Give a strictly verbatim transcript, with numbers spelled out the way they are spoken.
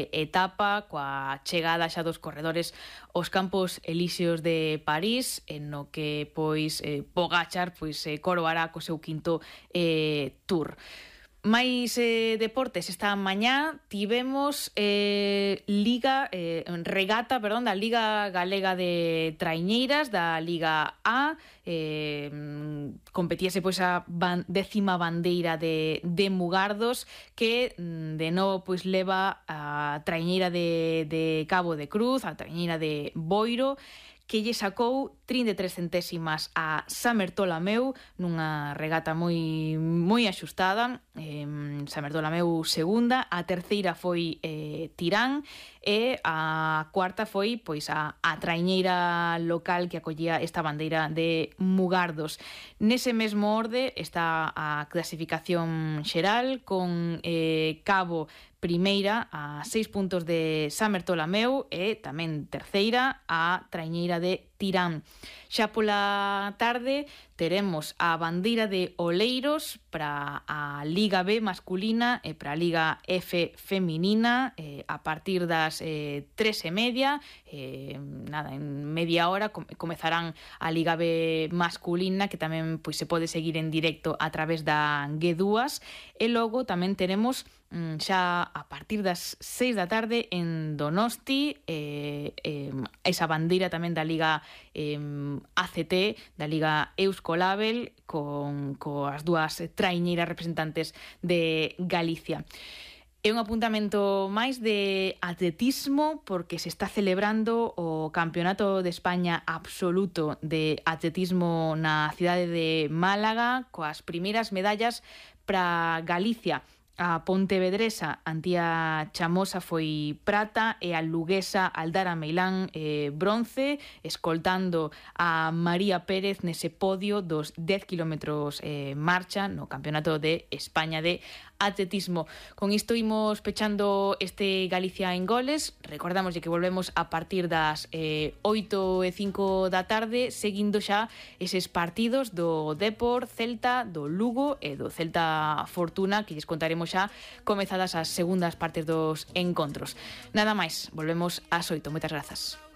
de etapa coa chegada xa dos corredores aos Campos Elíseos de París, en no que pois eh, Pogačar pois eh, coroará co seu quinto eh, Tour. Mais eh, deportes, esta mañá tivemos eh, Liga, eh, regata, perdón, da Liga Galega de Traiñeiras, da Liga A, eh, competíase pois a ban, décima bandeira de, de Mugardos, que de novo pois leva a traiñeira de, de Cabo de Cruz, a traiñeira de Boiro, que lle sacou trinta e tres centésimas a Samertolameu nunha regata moi moi axustada. eh, Samertolameu segunda, a terceira foi eh, Tirán e a cuarta foi pois a, a traiñeira local que acollía esta bandeira de Mugardos. Nese mesmo orde está a clasificación xeral con eh, Cabo primeira a seis puntos de Samertolameu e tamén terceira a traiñeira de Tirán. Xa pola tarde teremos a bandeira de Oleiros para a Liga B masculina e para a Liga F feminina eh, a partir das eh, tres e media. Eh, nada, en media hora com- comezarán a Liga B masculina, que tamén pois se pode seguir en directo a través da G dúas, e logo tamén teremos mm, xa a partir das seis da tarde en Donosti eh, eh, esa bandeira tamén da Liga eh, A C T, da Liga Euskolabel, con coas dúas traiñeiras representantes de Galicia. É un apuntamento máis de atletismo, porque se está celebrando o Campeonato de España absoluto de atletismo na cidade de Málaga, coas primeiras medallas para Galicia. A pontevedresa Antía Chamosa foi prata e a luguesa Aldara Meilán eh, bronce, escoltando a María Pérez nese podio dos dez kilómetros eh, marcha no Campeonato de España de atletismo. Con isto imos pechando este Galicia en goles. Recordamos que volvemos a partir das eh, oito e cinco da tarde, seguindo xa eses partidos do Depor, Celta, do Lugo e do Celta Fortuna, que lles contaremos xa comezadas as segundas partes dos encontros. Nada máis, volvemos ás oito. Moitas grazas.